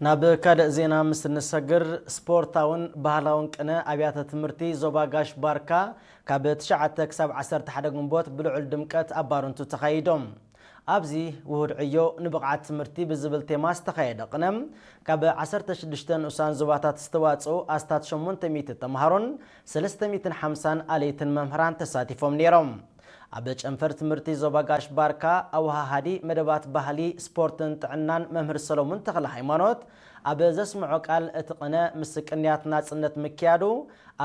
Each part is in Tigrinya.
ናብ ካልእ ዜና ምስ እንሰግር፣ ስፖርታውን ባህላውን ቅነ ኣብያተ ትምህርቲ ዞባ ጋሽ ባርካ ካብ ትሽዓተ ክሳብ ዓሰርተ ሓደ ግንቦት ብልዑል ድምቀት ኣብ ባረንቱ ተኻይዶም። ኣብዚ ውሁድ ዕዮ ንብቕዓት ትምህርቲ ብዝብል ቴማ ዝተኻየደ ቅነ፣ ካብ ዓሰርተ ሽዱሽተ ንኡሳን ዞባታት ዝተዋጽኡ ኣስታት ሸሞንተ ሚእቲ ተምሃሮን ሰለስተ ሚእትን ሓምሳን ኣለይትን መምህራን ተሳቲፎም ነይሮም። ኣብ ጨንፈር ትምህርቲ ዞባ ጋሽ ባርካ ኣወሃሃዲ መደባት ባህሊ፣ ስፖርትን ጥዕናን መምህር ሰሎሙን ተኽለ ሃይማኖት ኣብ ዘስምዖ ቃል፣ እቲ ቅነ ምስ ቅንያት ናጽነት ምክያዱ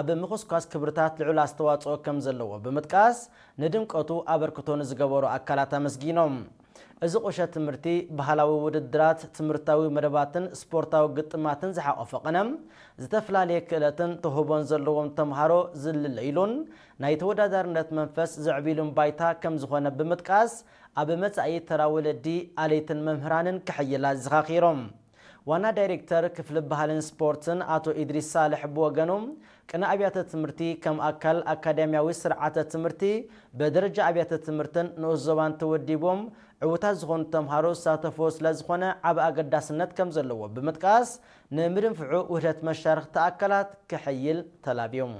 ኣብ ምኹስኳስ ክብርታት ልዑል ኣስተዋጽኦ ከም ዘለዎ ብምጥቃስ፣ ንድምቀቱ ኣበርክቶ ንዝገበሩ ኣካላት ኣመስጊኖም። እዚ ቁሸት ትምህርቲ፣ ባህላዊ ውድድራት፣ ትምህርታዊ መደባትን ስፖርታዊ ግጥማትን ዝሓቖፈ ቅነ፣ ዝተፈላለየ ክእለትን ተውህቦን ዘለዎም ተምሃሮ ዝልለይሉን ናይ ተወዳዳርነት መንፈስ ዘዕብይሉን ባይታ ከም ዝኾነ ብምጥቃስ፣ ኣብ መጻኢ ተራ ወለዲ፣ ኣለይትን መምህራንን ክሕይል ኣዘኻኺሮም። ዋና ዳይሬክተር ክፍሊ ባህልን ስፖርትን ኣቶ ኢድሪስ ሳልሕ ብወገኑ፣ ቅነ ኣብያተ ትምህርቲ ከም ኣካል ኣካዳሚያዊ ስርዓተ ትምህርቲ፣ በደረጃ ኣብያተ ትምህርትን ንኡስ ዞባን ተወዲቦም ዕዉታት ዝኾኑ ተምሃሮ ዝሳተፍዎ ስለ ዝኾነ፣ ዓቢ ኣገዳስነት ከም ዘለዎ ብምጥቃስ፣ ንምድንፍዑ ውህደት መሻርኽቲ ኣካላት ክሕይል ተላብዮም።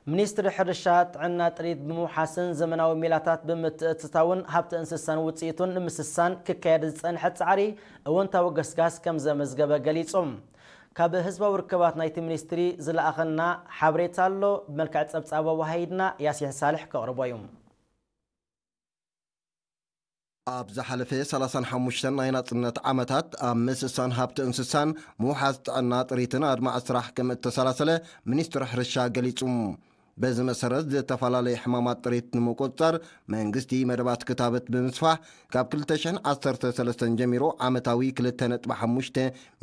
ሚኒስትሪ ሕርሻ፣ ጥዕና፣ ጥሪት ብምውሓስን ዘመናዊ ሜላታት ብምትእትታውን ሃብቲ እንስሳን ውፅኢቱን ንምስሳን ክካየድ ዝፀንሐ ፃዕሪ እወንታዊ ገስጋስ ከም ዘመዝገበ ገሊጹ። ካብ ህዝባዊ ርክባት ናይቲ ሚኒስትሪ ዝለኣኸና ሓበሬታ ኣሎ፣ ብመልክዕ ጸብጻብ ኣወሃሂድና ያሲን ሳልሕ ከቕርቦ እዩ። ኣብ ዝሓለፈ ሰላሳን ሓሙሽተን ናይ ናጽነት ዓመታት፣ ኣብ ምስሳን ሃብቲ እንስሳን ምውሓስ ጥዕና ጥሪትን ኣድማዒ ስራሕ ከም እተሰላሰለ ሚኒስትሪ ሕርሻ ገሊጹ። በዚ መሰረት፣ ዝተፈላለዩ ሕማማት ጥሪት ንምቁጽጻር መንግስቲ መደባት ክታበት ብምስፋሕ፣ ካብ ክልተ ሽሕን ዓሰርተ ሰለስተን ጀሚሩ ዓመታዊ ክልተ ነጥቢ ሓሙሽተ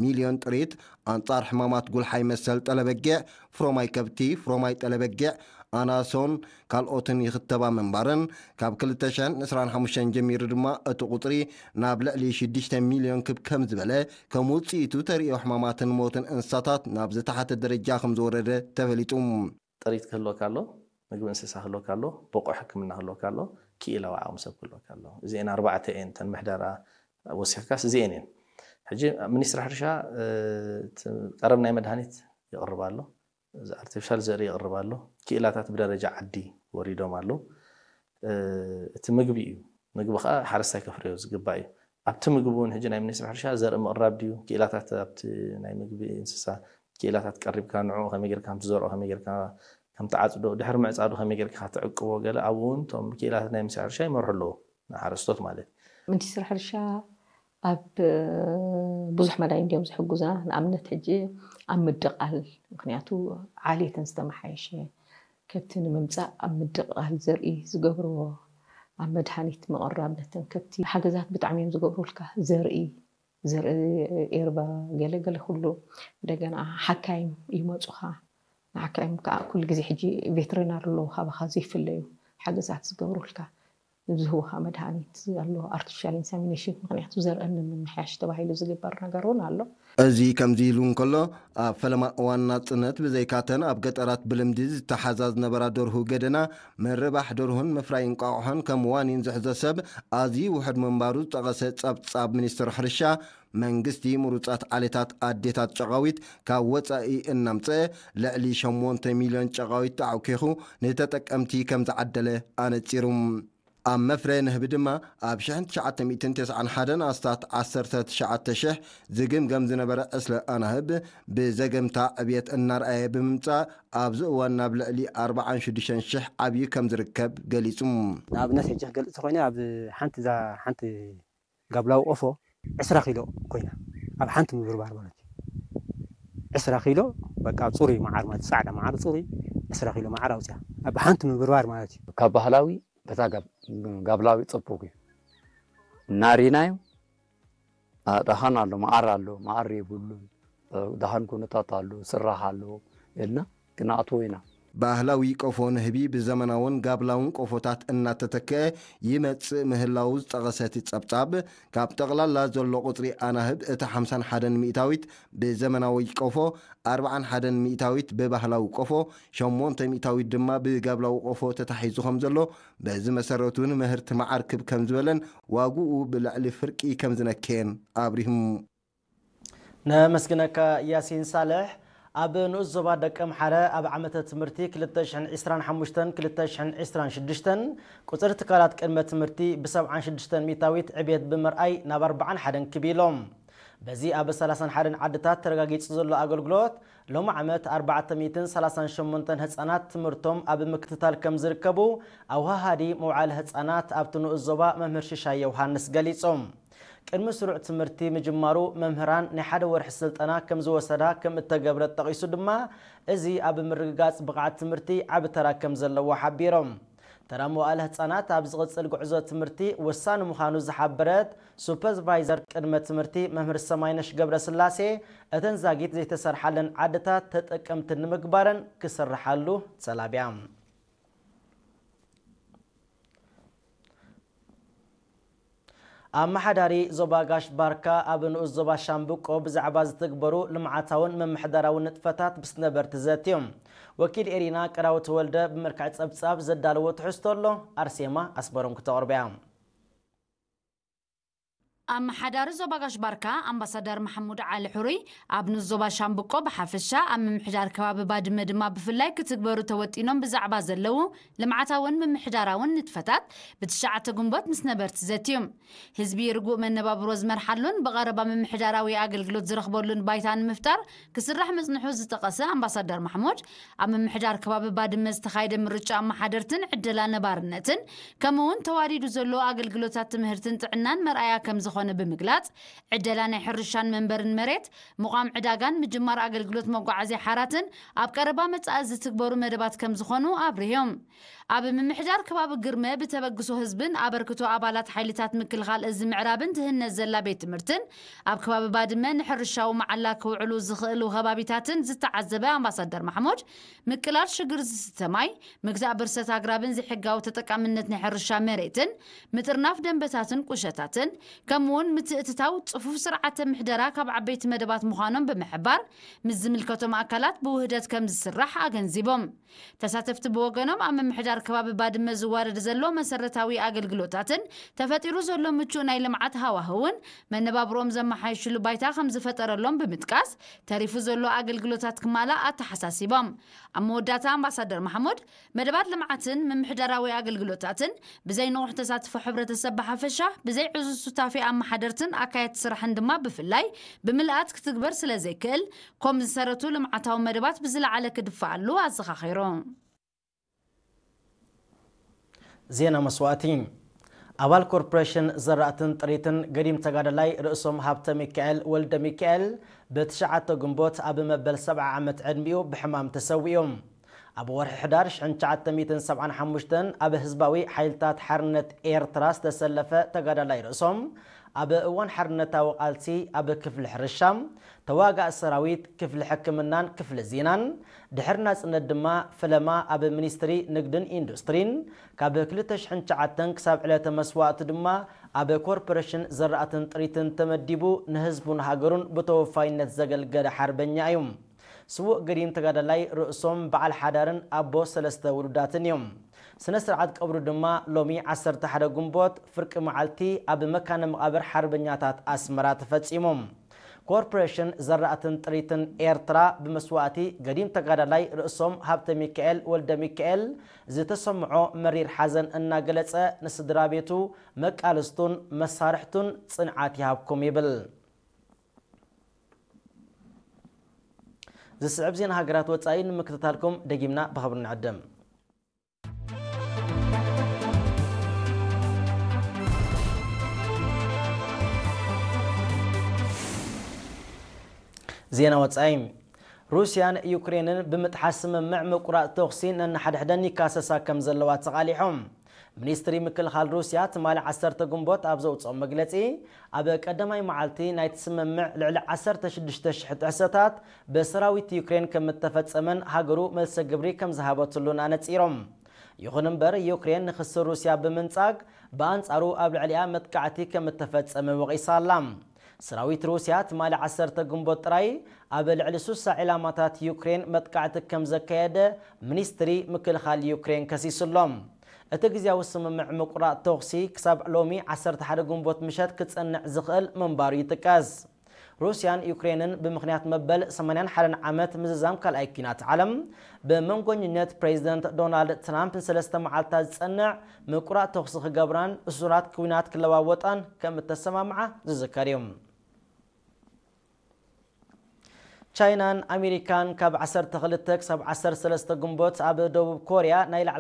ሚልዮን ጥሪት ኣንጻር ሕማማት ጉልሓይ መሰል ጠለበጊዕ፣ ፍሮማይ ከብቲ፣ ፍሮማይ ጠለበጊዕ፣ ኣናሶን ካልኦትን ይኽተባ ምንባረን፣ ካብ ክልተ ሽሕን ዕስራን ሓሙሽተን ጀሚሩ ድማ እቲ ቁጽሪ ናብ ልዕሊ ሽዱሽተ ሚልዮን ክብ ከም ዝበለ፣ ከም ውጽኢቱ ተርእዮ ሕማማትን ሞትን እንስሳታት ናብ ዝተሓተ ደረጃ ከም ዝወረደ ተፈሊጡ። ጥሪት ክህልወካ ኣሎ፣ ምግቢ እንስሳ ክህልወካ ኣሎ፣ ብቑዕ ሕክምና ክህልወካ ኣሎ፣ ክኢላዊ ዓቕሚ ሰብ ክህልወካ ኣሎ። እዚኤን ኣርባዕተ እየን እተን ምሕደራ ወሲኽካስ እዚኤን እየን። ሕጂ ሚኒስትሪ ሕርሻ፣ እ፣ እቲ ቀረብ ናይ መድሃኒት ይቕርብ ኣሎ፣ እዚ ኣርቲፊሻል ዘርኢ ይቕርብ ኣሎ፣ ክኢላታት ብደረጃ ዓዲ ወሪዶም ኣለዉ። እ፣ እቲ ምግቢ እዩ። ምግቢ ኸዓ ሓረስታይ ከፍርዮ ዝግባእ እዩ። ኣብቲ ምግቢ እውን ሕጂ ናይ ሚኒስትሪ ሕርሻ ዘርኢ ምቕራብ ድዩ፣ ክኢላታት ኣብቲ ናይ ምግቢ እንስሳ ክኢላታት ቀሪብካ፣ ንዕኡ ከመይ ጌርካ ከም ትዘርኦ፣ ከመይ ጌርካ ከም ትዓጽዶ፣ ድሕሪ ምዕጻዱ ከመይ ጌርካ ትዕቅቦ፣ ገለ ኣብኡ እውን እቶም ክኢላታት ናይ ሚኒስትሪ ሕርሻ ይመርሑ ኣለዉ፣ ንሓረስቶት ማለት እዩ። ሚኒስትሪ ሕርሻ ኣብ ብዙሕ መዳይ እንዲዮም ዝሕግዙና። ንኣብነት ሕጂ ኣብ ምድቓል፣ ምኽንያቱ ዓሌተን ዝተመሓየሸ ከብቲ ንምምጻእ ኣብ ምድቓል ዘርኢ ዝገብርዎ፣ ኣብ መድሃኒት ምቕራብ ነተን ከብቲ ሓገዛት ብጣዕሚ እዮም ዝገብሩልካ። ዘርኢ፣ ዘርኢ ኤርባ፣ ገለ ገለ ኩሉ። እንደገና ሓካይም ይመጹኻ። ንሓካይም ከዓ ኩሉ ግዜ ሕጂ ቬተሪናሪ ኣለዉ ካባኻ ዘይፍለዩ ሓገዛት ዝገብሩልካ። ዝህቡኻ መድሃኒት ኣሎ፣ ኣርቲፊሻል ኢንሰሚኔሽን፣ ምኽንያቱ ዘርእን ንምምሕያሽ ተባሂሉ ዝግበር ነገር እውን ኣሎ። እዚ ከምዚ ኢሉ እንከሎ፣ ኣብ ፈለማ እዋን ናጽነት ብዘይካተን ኣብ ገጠራት ብልምዲ ዝተሓዛ ዝነበራ ደርሁ ገደና፣ ምርባሕ ደርሁን ምፍራይ እንቋቑሖን ከም ዋኒን ዝሕዞ ሰብ ኣዝዩ ውሑድ ምንባሩ ዝጠቐሰ ጸብጻብ ሚኒስትሪ ሕርሻ፣ መንግስቲ ምሩጻት ዓሌታት ኣዴታት ጨቓዊት ካብ ወጻኢ እናምጽአ፣ ልዕሊ ሸሞንተ ሚልዮን ጨቓዊት ተዓኲኹ ንተጠቀምቲ ከም ዝዓደለ ኣነጺሩ። ኣብ መፍረ ንህቢ ድማ፣ ኣብ ሽሕን ትሽዓተ ሚእትን ተስዓን ሓደን ኣስታት ዓሰርተ ትሽዓተ ሽሕ ዝግምገም ዝነበረ ዕስለ ኣናህብ፣ ብዘገምታ ዕብየት እናርኣየ ብምምጻእ፣ ኣብዚ እዋን ናብ ልዕሊ ኣርባዓን ሽዱሽተን ሽሕ ዓብዩ ከም ዝርከብ ገሊጹ። ንኣብነት፣ ሕጂ ክገልጽ ተኾይነ፣ ኣብ ሓንቲ፣ እዛ ሓንቲ ጋብላዊ ቆፎ ዕስራ ኪሎ ኮይና፣ ኣብ ሓንቲ ምብርባር ማለት እዩ። ዕስራ ኪሎ፣ በቃ፣ ኣብ ጽሩይ መዓር ማለት፣ ጻዕዳ መዓር ጽሩይ ዕስራ ኪሎ መዓር ኣውጽያ፣ ኣብ ሓንቲ ምብርባር ማለት እዩ። ካብ ባህላዊ በታ ጋብ-፣ ጋብላዊ ጽቡቅ እዩ። እናሪናዮ፣ ኣ፣ ደሃን ኣሎ፣ መዓር ኣሎ፣ መዓር የብሉን፣ እ፣ ደሃን ኩነታት ኣሎ፣ ስራሕ ኣሎ ኢልና ክነኣትዎ ኢና። ባህላዊ ቆፎ ንህቢ ብዘመናውን ጋብላውን ቆፎታት እናተተክአ ይመጽእ ምህላዉ ዝጠቐሰ እቲ ጸብጻብ፣ ካብ ጠቕላላ ዘሎ ቁጽሪ ኣናህብ እቲ ሓምሳን ሓደን ሚእታዊት ብዘመናዊ ቆፎ፣ ኣርብዓን ሓደን ሚእታዊት ብባህላዊ ቆፎ፣ ሸሞንተ ሚእታዊት ድማ ብጋብላዊ ቆፎ ተታሒዙ ከም ዘሎ፣ በዚ መሰረት እውን ምህርቲ መዓር ክብ ከም ዝበለን ዋግኡ ብልዕሊ ፍርቂ ከም ዝነከየን ኣብሪሁም። ነመስግነካ ያሲን ሳልሕ። ኣብ ንኡስ ዞባ ደቀምሓረ ኣብ ዓመተ ትምህርቲ ክልተ ሽሕን ዕስራን ሓሙሽተን ክልተ ሽሕን ዕስራን ሽዱሽተን ቁጽሪ ትካላት ቅድመ ትምህርቲ ብ ሰብዓን ሽዱሽተን ሚእታዊት ዕብየት ብምርኣይ ናብ ኣርብዓን ሓደን ክብ ኢሎም። በዚ ኣብ ሰላሳን ሓደን ዓድታት ተረጋጊጹ ዘሎ ኣገልግሎት፣ ሎሚ ዓመት ኣርባዕተ ሚእትን ሰላሳን ሸሞንተን ህጻናት ትምህርቶም ኣብ ምክትታል ከም ዝርከቡ ኣውሃሃዲ መውዓሊ ህጻናት ኣብቲ ንኡስ ዞባ መምህር ሽሻይ ዮሃንስ ገሊጾም። ቅድሚ ስሩዕ ትምህርቲ ምጅማሩ መምህራን ናይ ሓደ ወርሒ ስልጠና ከም ዝወሰዳ ከም እተገብረ ጠቒሱ ድማ፣ እዚ ኣብ ምርግጋጽ ብቕዓት ትምህርቲ ዓቢ ተራ ከም ዘለዎ ሓቢሮም። ተራ መዋእለ ህጻናት ኣብ ዝቕጽል ጉዕዞ ትምህርቲ ወሳኒ ምዃኑ ዝሓበረት ሱፐርቫይዘር ቅድመ ትምህርቲ መምህር ሰማይነሽ ገብረስላሴ፣ እተን ዛጊት ዘይተሰርሓለን ዓድታት ተጠቀምቲ ንምግባረን ክስርሓሉ ተላብያ። ኣመሓዳሪ ዞባ ጋሽ ባርካ ኣብ ንኡስ ዞባ ሻምብቆ ብዛዕባ ዝትግበሩ ልምዓታውን ምምሕዳራውን ንጥፈታት ምስ ነበርቲ ዘትዮም። ወኪል ኤሪና ቀዳዊ ተወልደ ብመልክዕ ጸብጻብ ዘዳለዎ ትሕዝቶ ኣሎ፣ ኣርሴማ ኣስመሮም ክተቕርብያ። ኣመሓዳሪ ዞባ ጋሽ ባርካ ኣምባሳደር መሓሙድ ዓሊ ሕሩይ ኣብ ንኡስ ዞባ ሻምብቆ ብሓፈሻ ኣብ ምምሕዳር ከባቢ ባድመ ድማ ብፍላይ ክትግበሩ ተወጢኖም ብዛዕባ ዘለዉ ልምዓታውን ምምሕዳራውን ንጥፈታት ብትሽዓተ ግንቦት ምስ ነበርቲ ዘትዮም። ህዝቢ ርጉእ መነባብሮ ዝመርሓሉን ብቐረባ ምምሕዳራዊ ኣገልግሎት ዝረኽበሉን ባይታ ንምፍጣር ክስራሕ ምጽንሑ ዝጠቐሰ ኣምባሳደር ማሕሙድ፣ ኣብ ምምሕዳር ከባቢ ባድመ ዝተኻየደ ምርጫ ኣመሓደርትን ዕደላ ነባርነትን፣ ከምኡ'ውን ተዋዲዱ ዘሎ ኣገልግሎታት ትምህርትን ጥዕናን መርኣያ ከም ዝኾነ ብምግላጽ፣ ዕደላ ናይ ሕርሻን መንበርን መሬት፣ ምቋም ዕዳጋን ምጅማር ኣገልግሎት መጓዓዝያ ሓራትን ኣብ ቀረባ መጻኢ ዝትግበሩ መደባት ከም ዝኾኑ ኣብሪሆም። ኣብ ምምሕዳር ከባቢ ግርመ ብተበግሶ ህዝብን ኣበርክቶ ኣባላት ሓይልታት ምክልኻል እዚ ምዕራብን ትህነጽ ዘላ ቤት ትምህርትን ኣብ ከባቢ ባድመ ንሕርሻዊ መዓላ ክውዕሉ ዝኽእሉ ከባቢታትን ዝተዓዘበ ኣምባሳደር ማሕሙድ፣ ምቅላል ሽግር ዝስተ ማይ፣ ምግታእ ብርሰት ኣግራብን ዘይሕጋዊ ተጠቃምነት ናይ ሕርሻ መሬትን፣ ምጥርናፍ ደንበታትን ቁሸታትን፣ ከምኡ'ውን ምትእትታው ጽፉፍ ስርዓተ ምሕደራ ካብ ዓበይቲ መደባት ምዃኖም ብምሕባር፣ ምስ ዝምልከቶም ኣካላት ብውህደት ከም ዝስራሕ ኣገንዚቦም። ተሳተፍቲ ብወገኖም፣ ኣብ ምምሕዳር ከባቢ ባድመ ዝዋረድ ዘሎ መሰረታዊ ኣገልግሎታትን ተፈጢሩ ዘሎ ምቹእ ናይ ልምዓት ሃዋህውን መነባብሮኦም ዘመሓይሽሉ ባይታ ከም ዝፈጠረሎም ብምጥቃስ፣ ተሪፉ ዘሎ ኣገልግሎታት ክማላእ ኣተሓሳሲቦም። ኣብ መወዳእታ ኣምባሳደር ማሕሙድ፣ መደባት ልምዓትን ምምሕዳራዊ ኣገልግሎታትን ብዘይ ንቑሕ ተሳትፎ ሕብረተሰብ ብሓፈሻ፣ ብዘይ ዕዙዝ ሱታፌ ኣመሓደርትን ኣካየድቲ ስራሕን ድማ ብፍላይ ብምልኣት ክትግበር ስለ ዘይክእል፣ ኮም ዝሰረቱ ልምዓታዊ መደባት ብዝለዓለ ክድፈኣሉ ኣዘኻኺሩ። ዜና መስዋእቲ። ኣባል ኮርፖሬሽን ዘራእትን ጥሪትን ገዲም ተጋዳላይ ርእሶም ሃብተ ሚካኤል ወልደ ሚካኤል ብትሽዓተ ግንቦት ኣብ መበል ሰብዓ ዓመት ዕድሚኡ ብሕማም ተሰዊኡ። ኣብ ወርሒ ሕዳር ሽሕን ትሽዓተ ሚእትን ሰብዓን ሓሙሽተን ኣብ ህዝባዊ ሓይልታት ሓርነት ኤርትራ ዝተሰለፈ ተጋዳላይ ርእሶም፣ ኣብ እዋን ሓርነታዊ ቃልሲ ኣብ ክፍሊ ሕርሻ፣ ተዋጋእ ሰራዊት፣ ክፍሊ ሕክምናን ክፍሊ ዜናን፣ ድሕሪ ናጽነት ድማ ፈለማ ኣብ ሚኒስትሪ ንግድን ኢንዱስትሪን፣ ካብ ክልተ ሽሕን ትሽዓተን ክሳብ ዕለተ መስዋእቱ ድማ ኣብ ኮርፖሬሽን ዘራእትን ጥሪትን ተመዲቡ ንህዝቡን ሃገሩን ብተወፋይነት ዘገልገለ ሓርበኛ እዩ። ስዉእ ገዲም ተጋዳላይ ርእሶም በዓል ሓዳርን ኣቦ ሰለስተ ውሉዳትን እዮም። ስነ ስርዓት ቀብሩ ድማ ሎሚ ዓሰርተ ሓደ ግንቦት ፍርቂ መዓልቲ ኣብ መካነ መቓብር ሓርበኛታት ኣስመራ ተፈጺሙ። ኮርፖሬሽን ዘራእትን ጥሪትን ኤርትራ ብመስዋእቲ ገዲም ተጋዳላይ ርእሶም ሃብተ ሚካኤል ወልደ ሚካኤል ዝተሰምዖ መሪር ሓዘን እናገለጸ፣ ንስድራ ቤቱ መቃልስቱን መሳርሕቱን ጽንዓት ይሃብኩም ይብል። ዝስዕብ ዜና ሃገራት ወጻኢ ንምክትታልኩም ደጊምና ብኽብሪ ንዕድም። ዜና ወጻኢ። ሩስያን ዩክሬንን ብምጥሓስ ስምምዕ ምቁራጽ ተኹሲ ነንሓድሕደን ይካሰሳ ከም ዘለዋ ተቓሊሖም። ሚኒስትሪ ምክልኻል ሩስያ ትማሊ ዓሰርተ ግንቦት ኣብ ዘውፅኦ መግለፂ፣ ኣብ ቀዳማይ መዓልቲ ናይቲ ስምምዕ ልዕሊ ዓሰርተ ሽዱሽተ ሽሕ ጥሕሰታት ብሰራዊት ዩክሬን ከም እተፈጸመን ሃገሩ መልሰ ግብሪ ከም ዝሃበትሉን ኣነጺሮም። ይኹን እምበር፣ ዩክሬን ንኽሲ ሩስያ ብምንጻግ፣ ብኣንጻሩ ኣብ ልዕሊኣ መጥቃዕቲ ከም እተፈጸመ ወቒሳ ኣላ። ሰራዊት ሩስያ ትማሊ ዓሰርተ ግንቦት ጥራይ ኣብ ልዕሊ ሱሳ ዒላማታት ዩክሬን መጥቃዕቲ ከም ዘካየደ ሚኒስትሪ ምክልኻል ዩክሬን ከሲሱ ኣሎ። እቲ ግዜያዊ ስምምዕ ምቁራጽ ተኹሲ ክሳብ ሎሚ ዓሰርተ ሓደ ግንቦት ምሸት ክጸንዕ ዝኽእል ምንባሩ ይጥቀስ። ሩስያን ዩክሬንን ብምኽንያት መበል ሰማንያን ሓደን ዓመት ምዝዛም ካልኣይ ኲናት ዓለም፣ ብመንጎኝነት ፕሬዚደንት ዶናልድ ትራምፕ ንሰለስተ መዓልታት ዝጸንዕ ምቁራጽ ተኹሲ ክገብራን እሱራት ኲናት ክለዋወጣን ከም እተሰማምዓ ዝዝከር እዩ። ቻይናን ኣሜሪካን ካብ ዓሰርተ ክልተ ክሳብ ዓሰርተ ሰለስተ ግንቦት ኣብ ደቡብ ኮርያ ናይ ላዕለዋይ